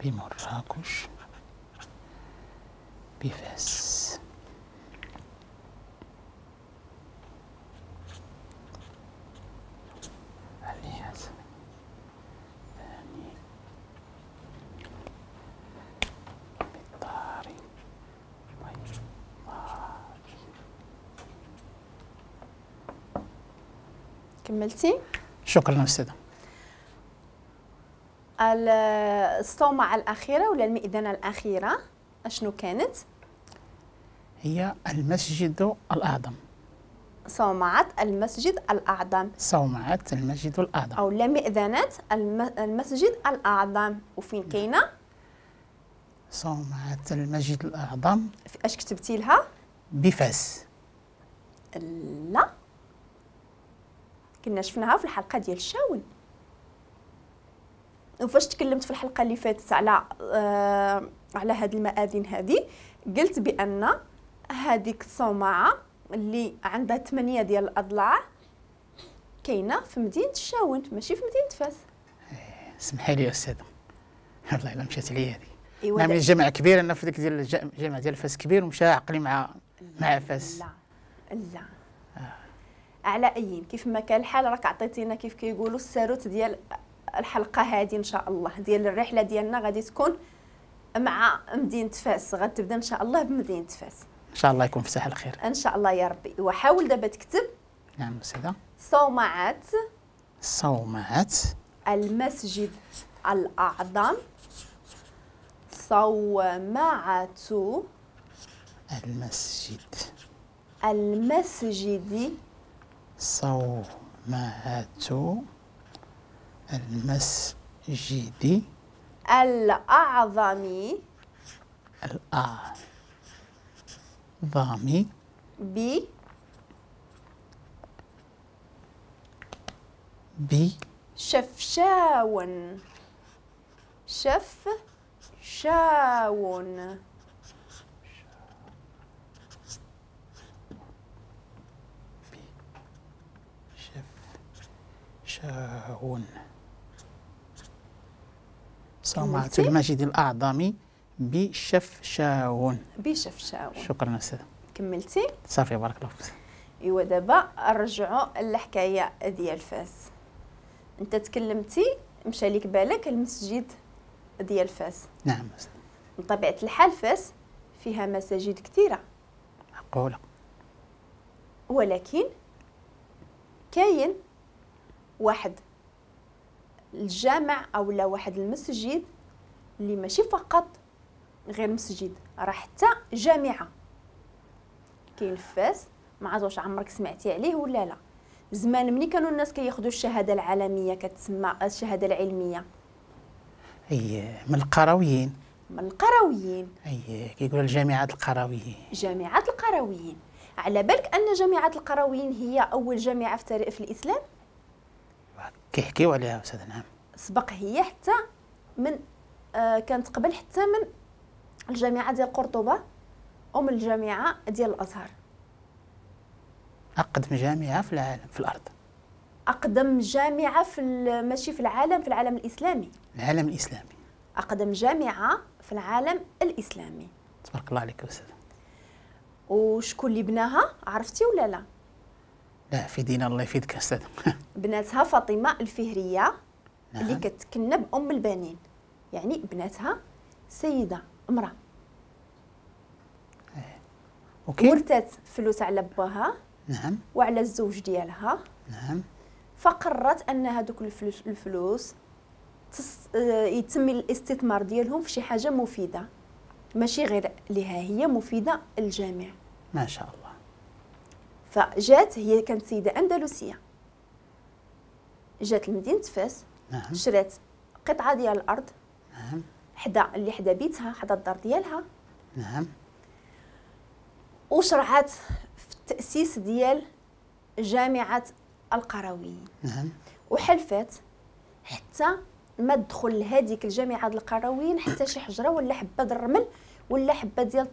بمراكش بفاس. كملتي؟ شكرا أستاذة. الصومعة الأخيرة ولا المئذنة الأخيرة أشنو كانت؟ هي المسجد الأعظم. صومعة المسجد الأعظم. صومعة المسجد الأعظم أو لا مئذنة المسجد الأعظم. وفين كاينة؟ صومعة المسجد الأعظم. أش كتبتي لها؟ بفاس. لا، كنا شفناها في الحلقة ديال الشاون، وفاش تكلمت في الحلقة اللي فاتت على هاد المآذن هادي، قلت بأن هذيك الصومعة اللي عندها 8 ديال الأضلاع كاينة في مدينة الشاون ماشي في مدينة فاس. سمحي لي يا أستاذة، والله إلا مشات عليا هذه. إيوا نعم، الجامع كبير، أنا في ديك ديال الجامع ديال فاس كبير ومشى عقلي مع فاس. لا لا. على أي كيف ما كان الحال راك عطيتينا كيف كيقولوا الساروت ديال الحلقة هذه إن شاء الله، ديال الرحلة ديالنا غادي تكون مع مدينة فاس، غتبدا إن شاء الله بمدينة فاس. إن شاء الله يكون في ساحة الخير. إن شاء الله يا ربي. وحاول دابا تكتب. نعم أستاذة. صومعة. صومعة. المسجد الأعظم. صومعة. المسجد. المسجد. صومعة المسجد الأعظم. الأعظم. ب. ب. شفشاون. شفشاون. شاون. صومعة المسجد الأعظم بشفشاون. بشفشاون. شكرا أستاذة. كملتي؟ صافي، بارك الله فيك. إيوا دابا نرجعوا للحكاية ديال فاس. أنت تكلمتي مشى لك بالك المسجد ديال فاس. نعم أستاذ. بطبيعة الحال فاس فيها مساجد كثيرة. معقولة. ولكن كاين واحد الجامع أو لا واحد المسجد اللي ماشي فقط غير مسجد، راه حتى جامعة كاين في فاس. ما عرفتش واش عمرك سمعتي عليه ولا لا. زمان ملي كانوا الناس كياخذوا الشهادة العالمية كتسمى الشهادة العلمية. أي من القرويين. من القرويين. أي كيقولوا الجامعات القرويين. جامعات القرويين. على بالك أن جامعة القرويين هي أول جامعة في تاريخ في الإسلام؟ كيحكيو عليها أستاذ. نعم. سبق هي حتى من كانت قبل حتى من الجامعة ديال قرطبة ومن الجامعة ديال الأزهر. أقدم جامعة في العالم، في الأرض. أقدم جامعة في ماشي في العالم، في العالم الإسلامي. العالم الإسلامي. أقدم جامعة في العالم الإسلامي. تبارك الله عليك أستاذ. وشكون اللي بناها عرفتي ولا لا؟ لا، في دينا الله يفيدك أستاذ. بناتها فاطمة الفهرية. نعم. اللي كتكنى بأم البنين، يعني بناتها سيدة امرأة. أوكي. ورثت فلوس على باها. نعم. وعلى الزوج ديالها. نعم. فقررت أن هذوك الفلوس يتم الاستثمار ديالهم في شي حاجة مفيدة، ماشي غير لها هي، مفيدة للجميع. ما شاء الله. فجات هي كانت سيدة أندلسية، جات لمدينة فاس. نعم. شرات قطعة ديال الأرض. نعم. حدا اللي حدا بيتها، حدا الدار ديالها. نعم. وشرعت في التأسيس ديال جامعة القرويين. نعم. وحلفات حتى ما تدخل لهذيك الجامعة القرويين حتى شي حجرة ولا حبة د الرمل ولا حبة ديال